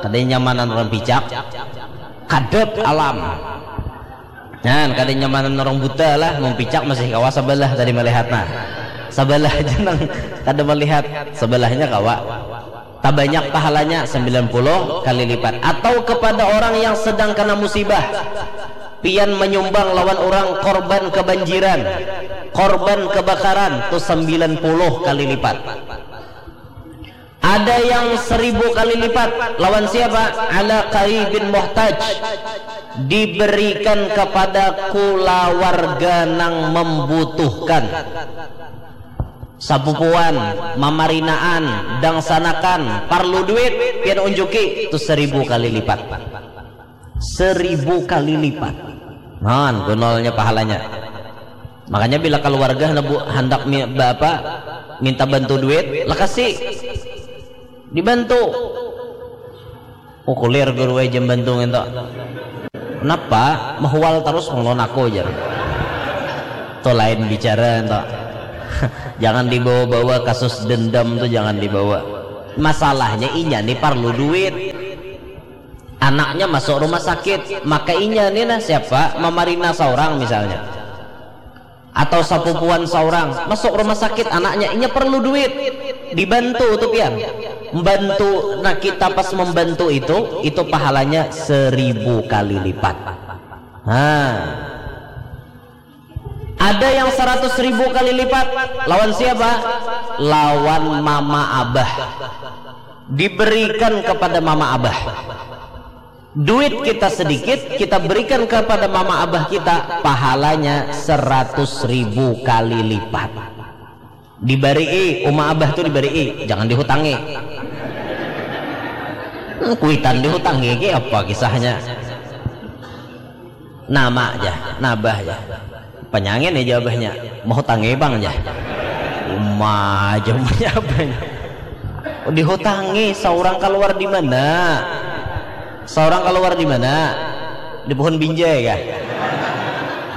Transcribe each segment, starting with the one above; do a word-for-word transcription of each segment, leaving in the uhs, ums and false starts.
Kada nyamanan orang picak, kadap alam. Nah, kada nyamanan orang buta lah, mempicak masih kawa sabalah tadi melihat nah. Sabalah aja nang kada melihat, sabalahnya kawa. Tabanyak pahalanya sembilan puluh kali lipat. Atau kepada orang yang sedang kena musibah, pian menyumbang lawan orang korban kebanjiran, korban kebakaran, tu sembilan puluh kali lipat. Ada yang seribu kali lipat. Lawan siapa? Ala qaribin muhtaj. Diberikan kepada kulawarga nang membutuhkan. Sapupuan, mamarinaan, dangsanakan, parlu duit, pian unjuki, tu seribu kali lipat. Seribu kali lipat. Nah, gunolnya pahalanya. Makanya bila keluarga handak mi, apa, minta bantu duit, lekasi. Dibantu. Oh, kulir guru aja bantu nginto. Kenapa? Mahual terus ngelon aku aja. Itu lain bicara ento. Jangan dibawa-bawa kasus dendam tuh, jangan dibawa. Masalahnya inya nih perlu duit. Anaknya masuk rumah sakit, maka inya nih nah siapa? Mamarina seorang misalnya. Atau sapupuan seorang masuk rumah sakit anaknya, inya perlu duit. Dibantu tuh pian. Membantu, nah kita pas membantu itu, itu pahalanya seribu kali lipat. Nah, ada yang seratus ribu kali lipat. Lawan siapa? Lawan mama abah. Diberikan kepada mama abah. Duit kita sedikit, kita berikan kepada mama abah kita, pahalanya seratus ribu kali lipat. Dibari'i, uma abah tuh dibari'i, jangan dihutangi. Hmm, kuitan dihutangi, ki apa kisahnya? Nama aja, nabah aja. Panyangin aja abahnya, mau hutangi bang aja. Uma aja punya abahnya. Dihutangi, seorang keluar di mana? Seorang keluar di mana? Di pohon binjai kah?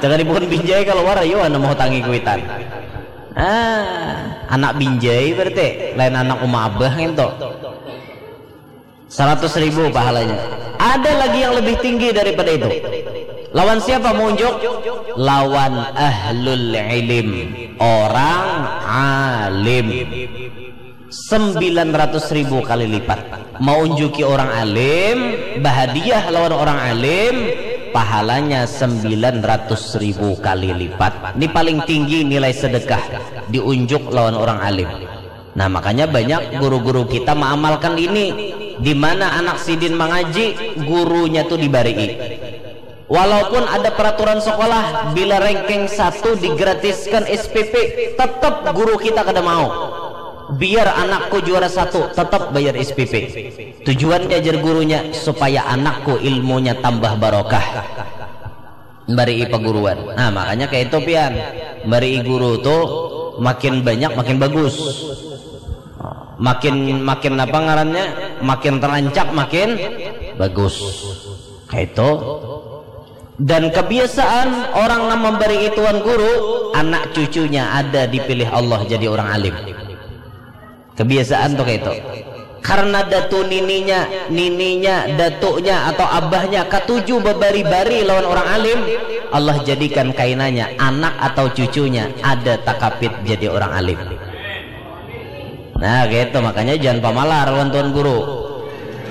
Jangan di pohon binjai keluar, ayo anak mau hutangi kuitan. Ah, anak binjai berarti, lain anak uma abah nginto. Seratus ribu pahalanya. Ada lagi yang lebih tinggi daripada itu. Lawan siapa mau unjuk? Lawan ahlul ilim, orang alim. Sembilan ratus ribu kali lipat. Mau unjuki orang alim, bahadiah lawan orang alim, pahalanya sembilan ratus ribu kali lipat. Ini paling tinggi nilai sedekah diunjuk lawan orang alim. Nah, makanya banyak guru-guru kita mengamalkan ini. Di mana anak sidin mengaji, gurunya tuh dibari'i. Walaupun ada peraturan sekolah, bila ranking satu digratiskan S P P, tetap guru kita kada mau. Biar anakku juara satu, tetap bayar S P P. Tujuan diajar gurunya supaya anakku ilmunya tambah barokah. Mbari'i paguruan. Nah, makanya kayak itu pian. Mbari'i guru tuh makin banyak makin bagus. Makin, makin apa ngarannya? Makin terancak makin bagus. Kayak itu. Dan kebiasaan orang nang memberi ituan guru, anak cucunya ada dipilih Allah jadi orang alim. Kebiasaan tuh kayak itu. Karena datu nininya, nininya, datuknya atau abahnya katuju babari-bari lawan orang alim, Allah jadikan kainanya anak atau cucunya ada takapit jadi orang alim. Nah, gitu, makanya jangan pamalar lawan tuan guru.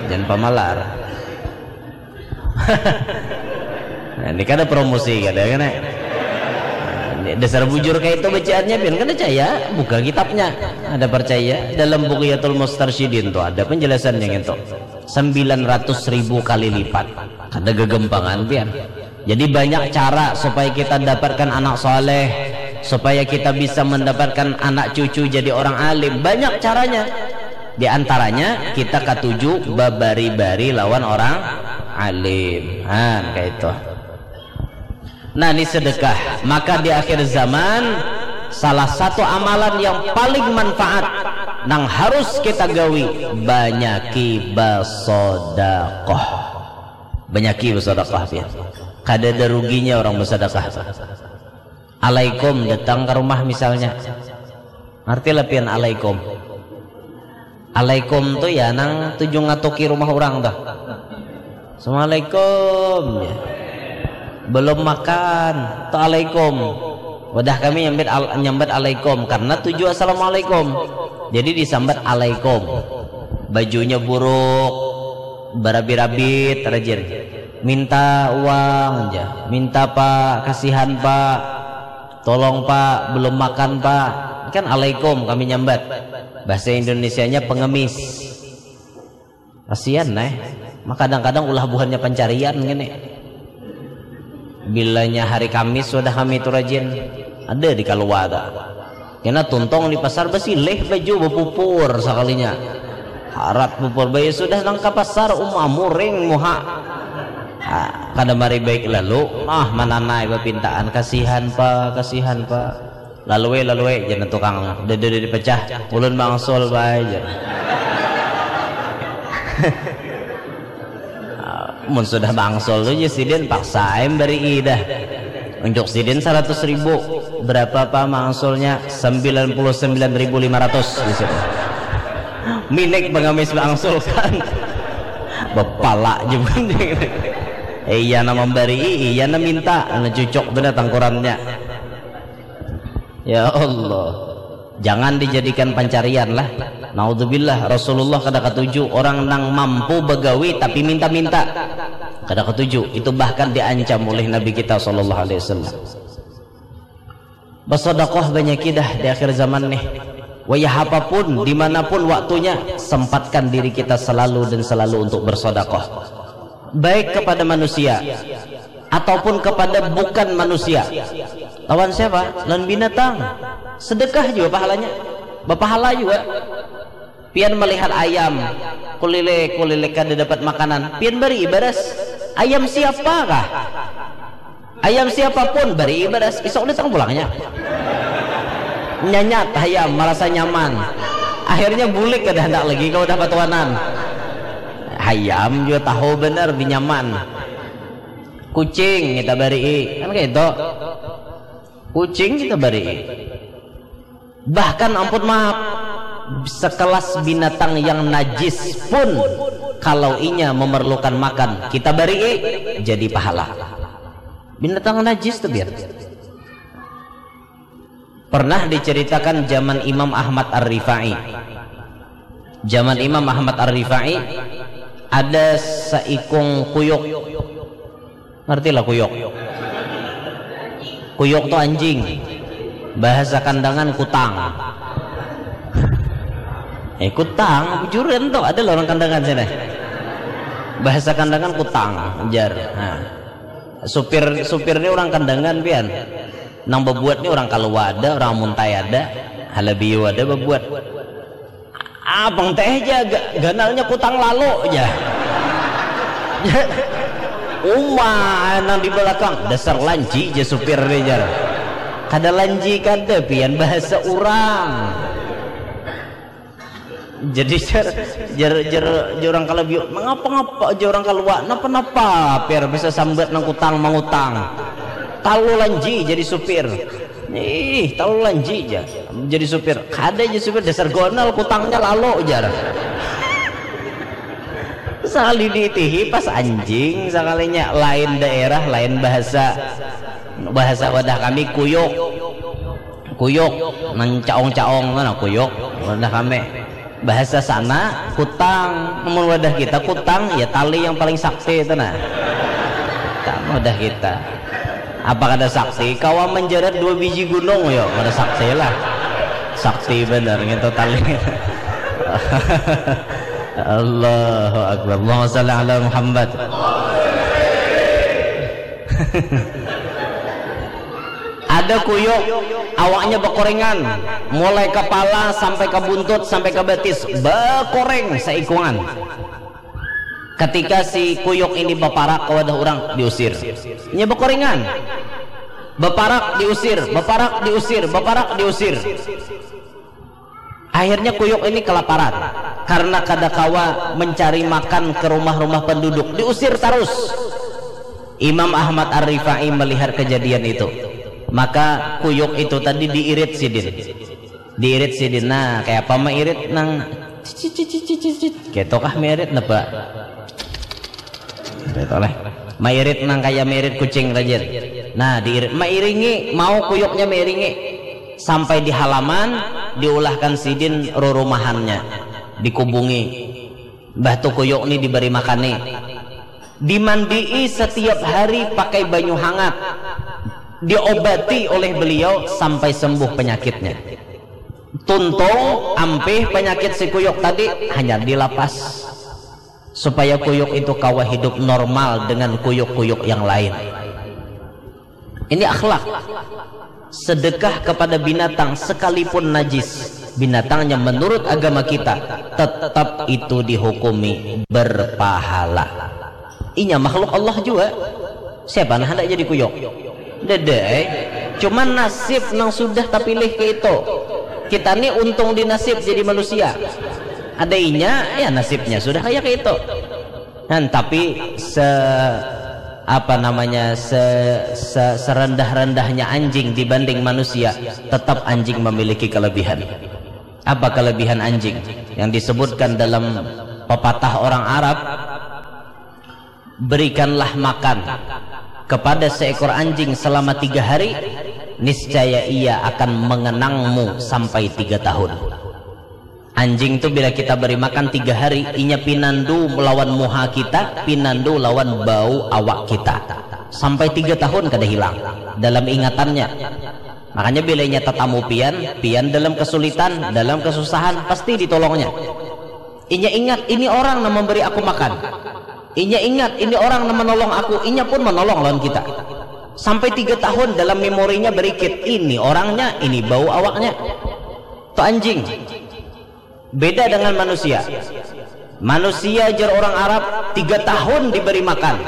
Jangan pamalar. Nah, ini kada promosi kada kan, eh? Nah, ini dasar bujur kayak itu bacaannya, pian kada caya, buka kitabnya. Ada percaya dalam Bughyatul Mustarsyidin tuh ada penjelasannya gitu. Sembilan ratus ribu kali lipat. Kada gegempangan pian. Jadi banyak cara supaya kita dapatkan anak soleh, supaya kita bisa mendapatkan anak cucu jadi orang alim. Banyak caranya. Di antaranya kita katuju babari-bari lawan orang alim. Han, kayak itu. Nah, ini sedekah. Maka di akhir zaman salah satu amalan yang paling manfaat nang harus kita gawi, banyaki basodakoh. Banyaki basodakoh, pian. Kada ada ruginya orang basodakoh. Alaikum datang ke rumah misalnya. Ngerti lah pian alaikum. Alaikum tu ya nang tuju ngatuki rumah urang tuh. Assalamualaikum, ya. Belum makan, tu alaikum. Wadah kami nyambat al-, nyambat alaikum karena tuju assalamualaikum. Jadi disambat alaikum. Bajunya buruk, barabit-rabit, rajin. Minta uang aja, minta pak, kasihan pak, tolong pak, belum makan pak. Kan alaikum kami nyambat. Bahasa Indonesianya pengemis. Kasihan, eh. Maka kadang-kadang ulah buhannya pancarian gini. Bilanya hari Kamis sudah kami itu rajin. Ada di kalua ta. Kena tuntung di pasar basilih baju bapupur sakalinya. Harat pupur bayi sudah nang ka pasar uma muring muha. Ah, kada mari baik lalu, ah mananai bapintaan kasihan pa, kasihan pa. Lalui, lalui, jar tukang. Dada dipecah, ulun bangsul bae, jar. Mun sudah bangsul tu, jar sidin, paksa ai barii dah. Unjuk sidin saratus ribu. Berapa pa mangsulnya? Sembilan puluh sembilan ribu lima ratus, jar sidin. Minik pengamis bangsul kan. Bapala je. Iya nama barii, iya nama minta, nah cucuk tu dah tangkurannya. Ya Allah, jangan dijadikan pancarian lah. Naudzubillah, Rasulullah kada katuju orang nang mampu bagawi tapi minta-minta. Kada katuju, itu bahkan diancam oleh Nabi kita sallallahu alaihi wasallam. Bersedekah banyak dah di akhir zaman nih. Wayah apapun, dimanapun waktunya, sempatkan diri kita selalu dan selalu untuk bersedekah. Baik kepada manusia, ataupun kepada bukan manusia. Lawan siapa? Lawan binatang. Sedekah juga pahalanya. Bapahala juga. Pian melihat ayam, kulilik, kulilik kada dapat makanan. Pian beri baras. Ayam siapakah? Ayam siapapun beri baras. Isuk datang pulangnya. Nyanyat ayam, merasa nyaman. Akhirnya bulik kada hendak lagi kalau udah patuanan. Ayam juga tahu benar di nyaman. Kucing kita beri, kan kayak itu. Kucing kita beri. Bahkan ampun maaf, sekelas binatang yang najis pun kalau inya memerlukan makan, kita beri jadi pahala. Binatang najis tu biar. Pernah diceritakan zaman Imam Ahmad Ar-Rifai. Zaman Imam Ahmad Ar-Rifai ada seikung kuyuk. Ngerti lah kuyuk? Kuyuk tu anjing. Bahasa Kandangan kutang. Eh, kutang, bujuran tu. Ada lah orang Kandangan sini. Bahasa Kandangan kutang, jar. Nah. Supir, supir ni orang Kandangan pian. Nang babuat ni orang Kalua ada, orang Muntai ada, Halabiu ada babuat. Abang teh ja ga-, ganalnya kutang lalu ja. Uma nang di belakang dasar lanji ja supir ni jar. Kada lanji kada pian bahasa urang. Jadi jar jar jar jar urang Kalabiu, mangapa ngapa jar urang Kalua, napa napa pian bisa sambat nang kutang mangutang. Talu lanji jadi supir. Ih, tahu lanji ja. Jadi supir, kada ja supir dasar gonal kutangnya lalu jar. Sakali diitihi pas anjing sakalinya lain daerah, lain bahasa. Bahasa wadah kami kuyuk. Kuyuk nang caong-caong mana kuyuk wadah kami. Bahasa sana kutang, mun wadah kita kutang ya tali yang paling sakti itu nah. Kutang wadah kita. Apa kada sakti? Kawa menjerat dua biji gunung yo, kada sakti lah. Sakti benar ngintu tali. Allahu Akbar. Allahumma salli ala Muhammad. Ada kuyuk, awaknya bekorengan, mulai kepala sampai ke buntut sampai ke betis bekoreng seikungan. Ketika si kuyuk ini baparak ke wadah orang, diusir. Nya bekorengan. Baparak diusir, baparak diusir, baparak diusir. Akhirnya kuyuk ini kelaparan karena kada kawa mencari makan ke rumah-rumah penduduk, diusir terus. Imam Ahmad Ar-Rifai melihat kejadian itu. Maka kuyuk itu tadi diirit sidin. Diirit sidin. Nah, kayak apa mairit nang Cicit, cicit, cicit. Gitu kah mirit napa? Gitu lah. Mairit nang kaya mirit kucing rajin. Nah, diirit, mairingi, mau kuyuknya mairingi. Sampai di halaman, diulahkan sidin rurumahannya. Dikubungi. Mbah tu kuyuk ni diberi makani. Dimandii setiap hari pakai banyu hangat. Diobati oleh beliau sampai sembuh penyakitnya. Tuntung, ampih penyakit si kuyuk tadi hanyar dilapas. Supaya kuyuk itu kawa hidup normal dengan kuyuk-kuyuk yang lain. Ini akhlak. Sedekah kepada binatang sekalipun najis, binatangnya menurut agama kita, tetap itu dihukumi berpahala. Inya makhluk Allah juga. Siapa nah hendak jadi kuyuk? Dede, eh. Cuman nasib nang sudah tapilih ke itu. Kita ni untung di nasib jadi manusia. Ada inya, ya nasibnya sudah kayak ke itu. Nah, tapi se apa namanya se, se serendah-rendahnya anjing dibanding manusia, tetap anjing memiliki kelebihan. Apa kelebihan anjing? Yang disebutkan dalam pepatah orang Arab, berikanlah makan kepada seekor anjing selama tiga hari, niscaya ia akan mengenangmu sampai tiga tahun. Anjing tu bila kita beri makan tiga hari, inya pinandu lawan muha kita, pinandu lawan bau awak kita. Sampai tiga tahun kada hilang dalam ingatannya. Makanya bila inya tatamu pian, pian dalam kesulitan, dalam kesusahan, pasti ditolongnya. Inya ingat, ini orang nang memberi aku makan. Inya ingat, ini orang nang menolong aku, inya pun menolong lawan kita. Sampai tiga tahun dalam memorinya berikit, ini orangnya, ini bau awaknya. Tu anjing. Beda dengan manusia. Manusia, jar orang Arab, tiga tahun diberi makan,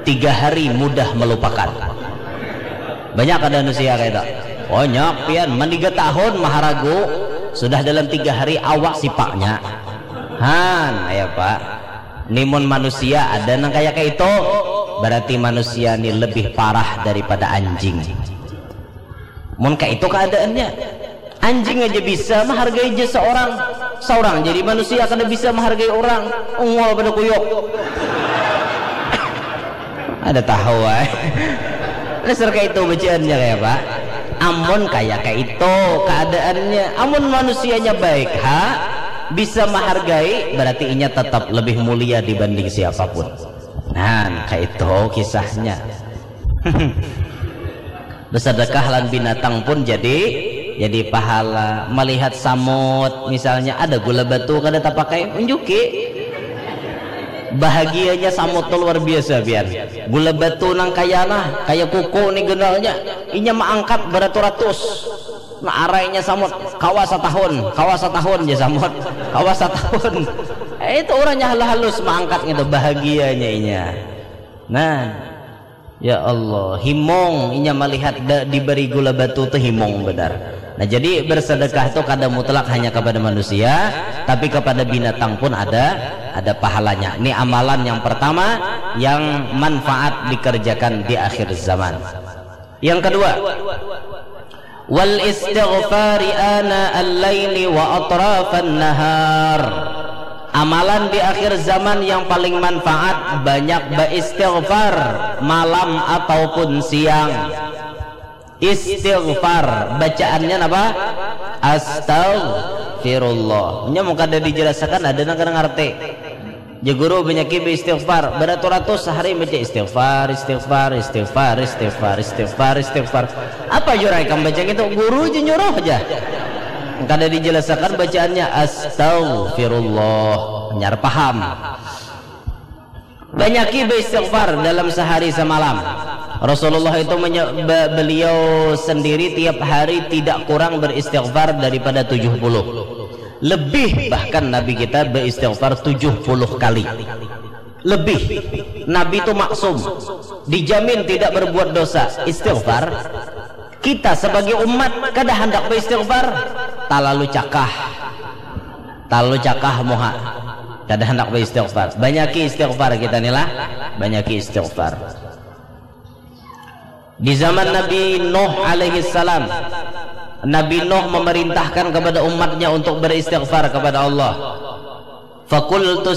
tiga hari mudah melupakan. Banyak ada manusia kayak itu. Banyak pian, man tiga tahun maharagu, sudah dalam tiga hari awak sipaknya. Han, ya Pak. Nimun manusia ada nang kayak itu, berarti manusia ni lebih parah daripada anjing. Mun kayak itu keadaannya, anjing aja bisa menghargai jasa orang. Seorang jadi manusia kada bisa menghargai orang. Ungol pada kuyuk. Ada tahu, ay. Dasar kayak itu bacaannya kayak apa? Amun kayak kayak itu keadaannya, amun manusianya baik, ha, bisa menghargai, berarti inya tetap lebih mulia dibanding siapapun. Nah, kayak itu kisahnya. Bersedekah lan binatang pun jadi jadi pahala. Melihat samut misalnya, ada gula batu kada tapakai, unjuki. Bahagianya samut tu luar biasa pian. Gula batu nang kaya nah, kaya kuku ni genalnya, inya maangkat beratus-ratus. Nah, arainya samut, kawa satahun, kawa satahun ja samut, kawa satahun. Eh, itu orangnya halus-halus maangkat gitu, bahagianya inya. Nah, ya Allah, himung inya melihat da, diberi gula batu tu himung benar. Nah, jadi bersedekah tu kada mutlak hanya kepada manusia, tapi kepada binatang pun ada ada pahalanya. Ini amalan yang pertama yang manfaat dikerjakan di akhir zaman. Yang kedua, wal istighfari ana al-laili wa atrafan nahar. Amalan di akhir zaman yang paling manfaat, banyak beristighfar malam ataupun siang. Istighfar, bacaannya apa? Astagfirullah. Nya mun kada dijelaskan, ada nang kada ngarti. Ja guru banyaki beristighfar, beratus-ratus sehari baca istighfar, istighfar, istighfar, istighfar, istighfar, istighfar. Apa jurai kam baca gitu? Guru je nyuruh aja. Kada dijelaskan bacaannya astagfirullah. Nyar paham. Banyaki beristighfar dalam sehari semalam. Rasulullah itu menye- be- beliau sendiri tiap hari tidak kurang beristighfar daripada tujuh puluh. Lebih bahkan Nabi kita beristighfar tujuh puluh kali. Lebih. Nabi itu maksum. Dijamin tidak berbuat dosa. Istighfar. Kita sebagai umat kada hendak beristighfar. Talalu cakah. Talalu cakah muha. Kada hendak beristighfar. Banyaki istighfar kita ni lah. Banyaki istighfar. Di zaman Nabi Nuh alaihi salam, Nabi Nuh memerintahkan kepada umatnya untuk beristighfar kepada Allah. Fakultu